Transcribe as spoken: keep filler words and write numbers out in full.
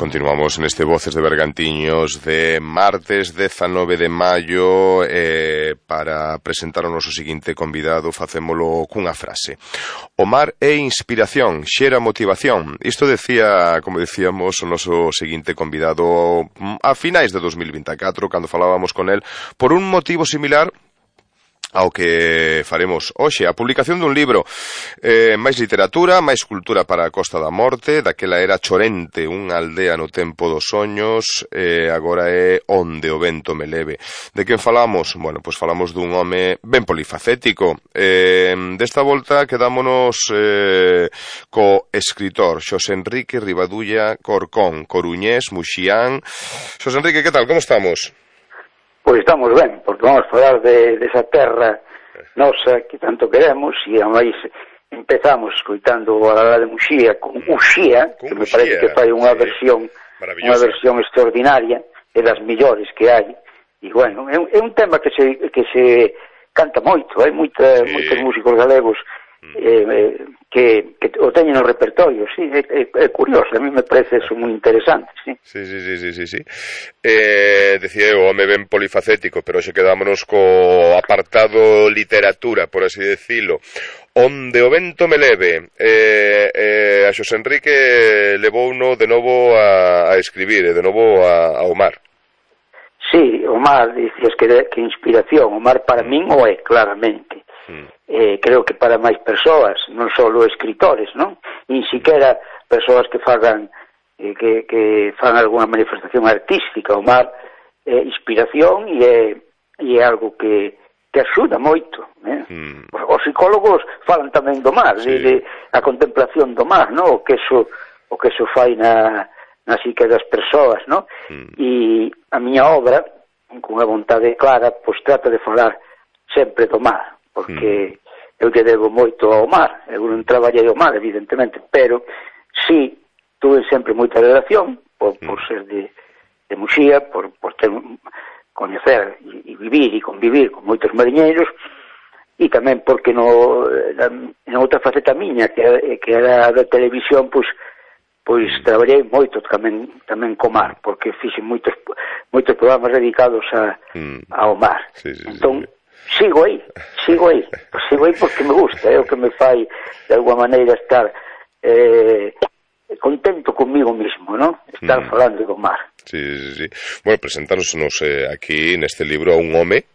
Continuamos neste Voces de Bergantiños de martes dezanove de maio eh, para presentar o noso seguinte convidado. Facémolo cunha frase: o mar é inspiración, xera motivación. Isto decía, como decíamos, o noso seguinte convidado a finais de dos mil vinte e catro, cando falábamos con el, por un motivo similar ao que faremos hoxe, a publicación dun libro, eh, máis literatura, máis cultura para a Costa da Morte. Daquela era Chorente, unha aldea no tempo dos soños, eh, agora é Onde o vento me leve. De quen falamos? Bueno, pois falamos dun home ben polifacético. Eh, desta volta quedámonos eh, co escritor Xosé Enrique Rivadulla Corcón, coruñés, muxián. Xosé Enrique, que tal? Como estamos? Pois estamos ben, porque vamos a falar de, de esa terra nosa que tanto queremos, e a máis empezamos escoitando a la de Muxía con Uxía, que me parece que fai unha versión unha versión extraordinaria, e das millores que hai, e bueno, é un, é un tema que se, que se canta moito, hai moita, sí. moitos músicos galegos eh, eh, que, que o teñen no repertorio, sí, é, é, é curioso, a mí me parece eso moi interesante, sí. Sí, sí, sí, sí, sí, sí. Eh, decía eu, home ben polifacético, pero xe quedámonos co apartado literatura, por así decilo. Onde o vento me leve, eh, eh, a Xosé Enrique levouno de novo a, a escribir, e de novo a, ao mar. Sí, o mar, dicías que, que inspiración, o mar para min o é, claramente. Mm. Eh, creo que para máis persoas, non só escritores, non? Nin siquiera persoas que fagan eh, que, que fan algunha manifestación artística. O mar é inspiración e é, e é algo que, que axuda moito, eh? mm. os, os psicólogos falan tamén do mar, sí. de, de a contemplación do mar, non? O que eso, o que eso fai na, na psique das persoas, non? Mm. E a miña obra, con unha vontade clara, pois trata de falar sempre do mar, porque mm. eu lle debo moito ao mar. Eu non traballei ao mar, evidentemente, pero sí tuve sempre moita relación por, mm. por ser de, de Muxía, por, por ter, coñecer e, e vivir e convivir con moitos mariñeiros, e tamén porque no, en outra faceta miña, que, que era da televisión, pois pois traballei moito tamén tamén co mar, porque fixen moitos moitos programas dedicados a, mm. ao mar. Sí, sí, entón, sí. Sigo aí, sigo aí, sigo aí porque me gusta, é o que me fai de alguma maneira estar eh, contento conmigo mismo, non? Estar mm. falando do mar. Sí, sí, sí. Bueno, presentáronos eh, aquí neste libro a un home